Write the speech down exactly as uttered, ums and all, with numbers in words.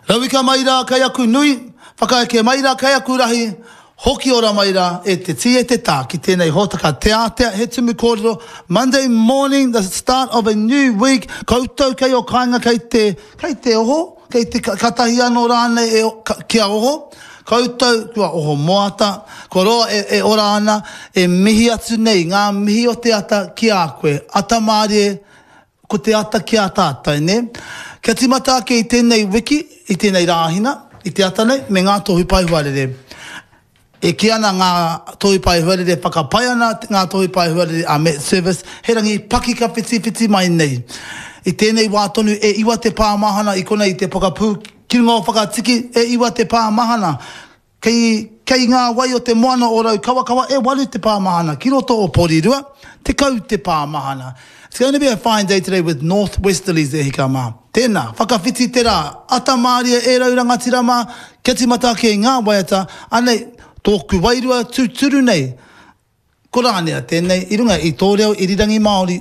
Rauika mai rā kei aku nui, whakaeke mai rā kei aku rahi, hoki ora mai rā e te tī e te tā ki tēnei hōtaka Te Ātea, he tumu kōrero, Monday morning, the start of a new week, koutou kei o kāinga kei te, kei te oho, kei te katahi anō rānei e, ka, kia oho, koutou kua oho moata, kua roa e, e ora ana, e mihi atu nei ngā mihi o te ata ki a koe, ata mārie, ko te ata ki a tātou, nē? Kia tīmata ake i tēnei wiki, i tēnei Rāhina, i te ata nei, me ngā tohu pae huarere. E kī ana ngā tohu pae huarere, whakapae ana ngā tohu pae huarere a Met Service, he rangi paki ka whitiwhiti mai nei. I tēnei wā tonu e iwa te pā mahana i konei i te pokapū ki runga o Whakatiki, e iwa te pā mahana. Kei, kei ngā wai o te moana o Raukawakawa e waru te pā mahana, ki roto o Porirua, tekau te pā mahana. It's going to be a fine day today with north westerlies e hika mā. Tēnā, whakawhiti te rā, ata mārie e rau rangatira mā, kia tīmata ake i ngā waiata, anei, tōku wairua tūturu nei. Ko Rānia tēnei i runga i tō reo irirangi Māori.